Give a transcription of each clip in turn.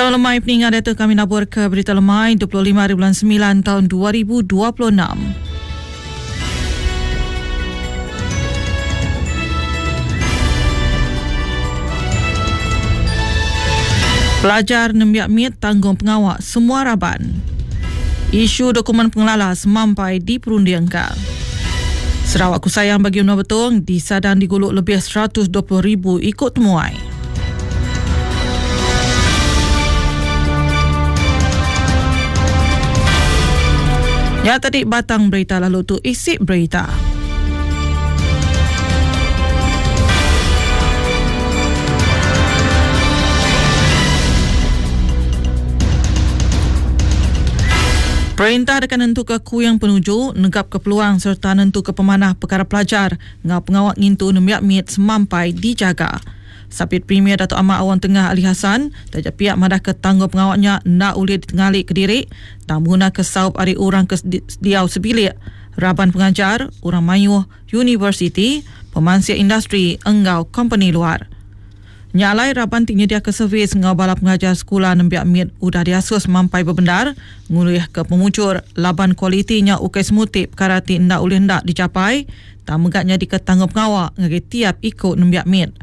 Selamat lemai peninga diatu kami nabur ke berita lemai 25 hari bulan 9 tahun 2026. Pelajar nembiak mit tanggung pengawa semua raban. Isu dokumen pengelala semampai diperundingka. Sarawak ku sayang bagi menua Betong disadang digulu lebih 120,000 iku temuai. Ya tadi batang berita lalu tu isi berita. Perintah deka nentuka kuing penuju, negapka peluang sereta nentuka pemanah pekara pelajar enggau pengawa ngintu nembiak mit semampai dijaga. Sapit Premier Datuk Amar Awang Tengah Ali Hasan taja pia madahka tanggungpengawa nya enda ulih ditengali kediri tang begunaka saup ari orang ke diau sebilik, raban pengajar, orang mayuh, universiti, pemansik industri enggau kompeni luar. Nya alai raban ti nyediaka servis enggau bala pengajar sekula nembiak mit udah diasuh semampai bebendar ngulihka pemujur laban kualiti nya ukai semuti pekara ti enda ulih enda dijapai tang mega nyadika tanggungpengawa ngagai tiap iku nembiak mit.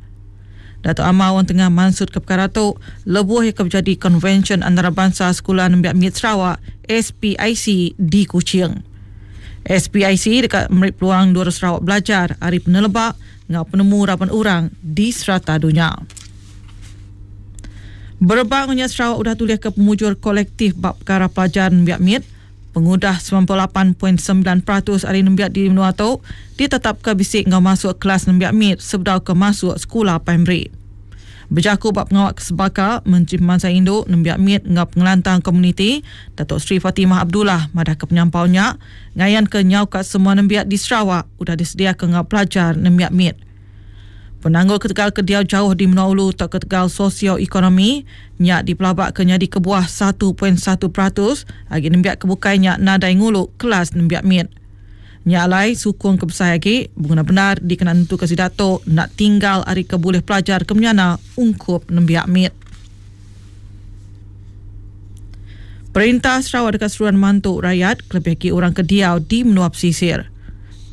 Datuk Amar Wong Tengah mansutka pekara tu lebuh iya ke bejadi Konvensyen Antarabansa Sekula Nembiak Mit Sarawak, SPIC, di Kuching. SPIC deka meri peluang endur Sarawak belajar ari peneleba enggau penemu raban orang di serata dunya. Berebak enggau nya Sarawak udah tulihka pemujur kolektif ba pekara pelajar nembiak mit pengudah 98.9% ari nembiak di menua tu ditetapka bisi enggau masuk kelas nembiak mit sebedau ke masuk sekula primary. Bejaku ba pengawa ke sebaka, Menteri Pemansang Indu, Nembiak Mit enggau Pengelantang Komuniti, Datuk Seri Fatimah Abdullah madahka penyampau nya ngayanka nyau ka semua nembiak di Sarawak udah disediaka enggau pelajar nembiak mit. Penanggul ketegal ke diau jauh di menua ulu tauka ketegal sosio-ekonomi nya dipelabaka nyadi kebuah 1.1% agi nembiak ke bukai nya nadai ngulu kelas nembiak mit. Nya alai, sukung ke besai agi beguna bendar dikena nentuka sida tu enda tinggal ari ke bulih pelajar ke menyana ungkup nembiak mit. Perintah Sarawak deka seruran mantu rayat kelebih agi orang ke diau di menua pesisir.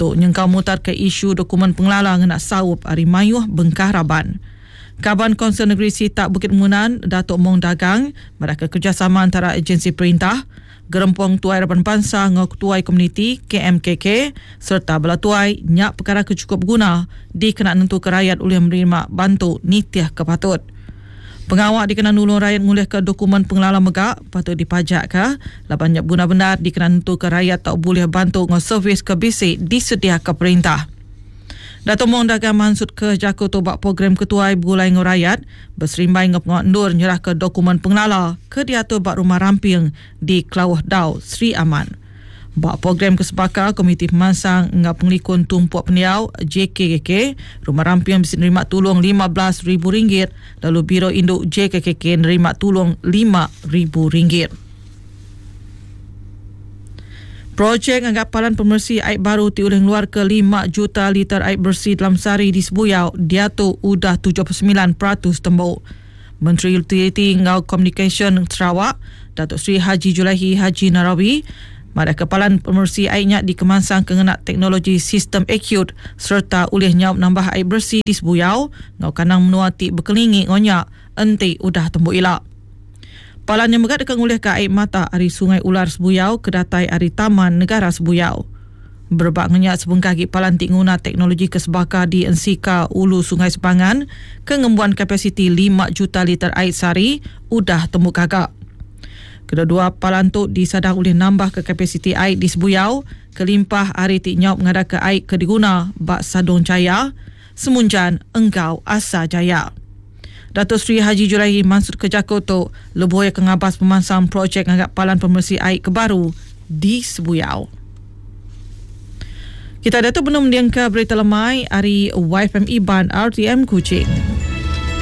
Tu nyengkaum mutarka isu dokumen pengelala ngena saup ari mayuh bengkah raban. Kaban Kaunsil Negeri Sitak Bukit Munan, Datuk Mong Dagang madahka kerejasama entara ejensi perintah, Gerempung Tuai Raban Bansa enggau Ketuai Komuniti, KMKK, sereta bala tuai nya pekara ke chukup beguna dikena nentuka rayat ulih menerima bantu nitih ke patut. Pengawa dikena nulung rayat ngulihka dokumen pengelala mega patut dipajakka laban nya beguna bendar dikena nentuka rayat tau bulih bantu enggau servis ke bisi disediaka perintah. Datuk Mong Dagang mansutka jaku tu ba program Ketuai Begulai Enggau Rayat beserimbai enggau pengawa endur nyerahka dokumen pengelala ke diatur ba Rumah Ramping di Klauh Dau, Sri Aman. Ba program ke sebaka, Komiti Pemansang enggau Pengelikun Tumpuk Pendiau, JKKK, Rumah Ramping bisi nerima tulung RM15,000 lalu Biro Indu JKKK nerima tulung RM5,000. Projek ngaga palan pemeresi ai baru ti ulih ngeluarka lima juta liter ai beresi dalam sehari di Sebuyau diatu udah 79% tembu. Menteri Utiliti enggau Komunikasyen Sarawak, Datuk Seri Haji Julaihi Haji Narawi madahka palan pemeresi ai nya dikemansangka ngena teknologi sistem acute sereta ulih nyaup nambah ai beresi di Sebuyau enggau kandang menua ti bekelingi enggau nya enti udah tembu ila. Palan nya mega deka ngulihka ai mata ari Sungai Ular Sebuyau ke datai ari Taman Negara Sebuyau. Berebak enggau nya sebengkah agi palan ti nguna teknologi ke sebaka di Ensika Ulu Sungai Sepangan ke ngembuan kapasiti lima juta liter ai sehari udah tembu gaga. Kedua-dua palan tu disadang ulih nambahka kapasiti ai di Sebuyau kelimpah ari ti nyaup ngadaka ai ke diguna ba Sadong Jaya, Semunjan enggau Asa Jaya. Dato Sri Haji Julaihi mansutka jaku tu lebuh iya ke ngabas pemansang projek ngaga palan pemeresi ai ke baru di Sebuyau. Kita diatu benung mendingka berita lemai ari YFM Iban RTM Kuching.